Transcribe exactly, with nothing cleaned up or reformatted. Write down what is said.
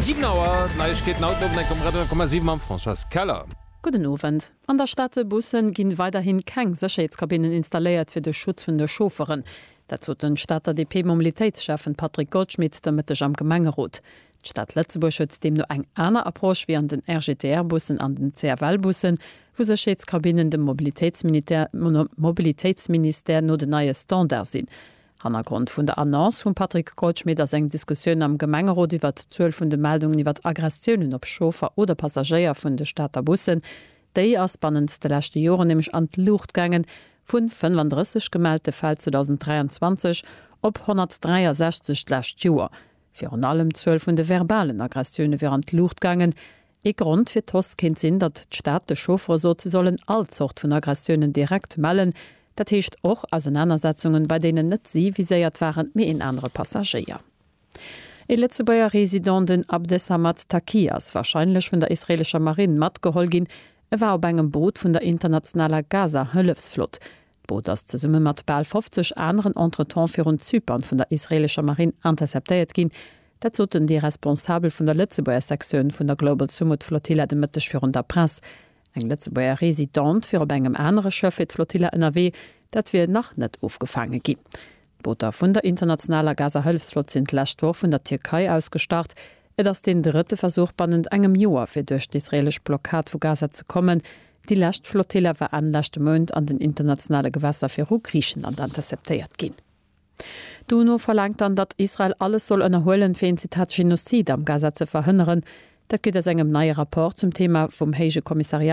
Siwen Auer, d'Neiegkeeten haut den Owend um Radio siwe mam Françoise Keller. Gudden Owend. An der Stater Bussen ginn weiderhin keng Sécherheetskabinnen installéiert fir de Schutz vun de Chaufferen. Dat sot den Stater D P-Mobilitéitsschäffen Patrick Goldschmidt de Mëtteg am Gemengerot. D'Stad Lëtzebuerg huet deemno eng aner Approche wéi an den R G T R-Bussen an den C F L-Bussen, wou Sécherheetskabinnen dem Mobilitéitsministère, Mobilitéitsministère no den neie Standard sinn. Hannergrond vun der Annonce vum Patrick Goldschmidt ass eng Diskussioun am Gemengerot iwwer d'Zuel vun de Meldungen iwwer Aggressiounen op Chauffer oder Passagéier vun de Stater Bussen. Déi ass bannent de leschte Joren nämlech an d'Luucht gaangen, vun fënnefandrësseg gemellte Fäll zweedausend dräianzwanzeg op honnertdräiasechzeg d'lescht Joer. Virun allem d'Zuel vun de verbalen Aggressioune wier an d'Luucht gaangen. Ee Grond fir d'Hausse kéint sinn, datt d'Stad de Chauffere sot, se sollen all Zort vun Aggressiounen direkt mellen. Dat heescht och Ausenanersetzungen, bei deenen net si viséiert waren, mee een anere Passagéier. E Lëtzebuerger Resident, den Abdessamad Taki, ass warscheinlech vun der israeelescher Marinn matgeholl ginn. E war op engem Boot vun der internationaler Gaza-Hëllefsflott. D'Boot ass zesumme mat bal fofzeg aneren entretemps virun Zypern vun der israeelescher Marinn interceptéiert ginn. Dat soten déi Responsabel vun der Lëtzebuerger Sektioun vun der Global Sumud Flotilla de Mëtteg virun der Press. Eng Lëtzebuerger Residente wier op engem anere Schëff fir d'Flotilla ënnerwee, dat wier nach net ofgefaange ginn. D'Booter vun der internationaler Gaza-Hëllefsflott sinn d'lescht Woch vun der Tierkei aus gestart. Et ass den drëtte Versuch bannent engem Joer fir duerch d'israeelesch Blockad vu Gaza ze kommen. Déi lescht Flotilla war Enn leschte Mount an den internationale Gewässer viru Griichenland interceptéiert ginn. D'UNO verlaangt dann, datt Israel alles soll ënnerhuelen, fir een Zitat Genozid am Gaza ze verhënneren. Dat geet aus engem neie Rapport zum Thema vum Héije Kommissariat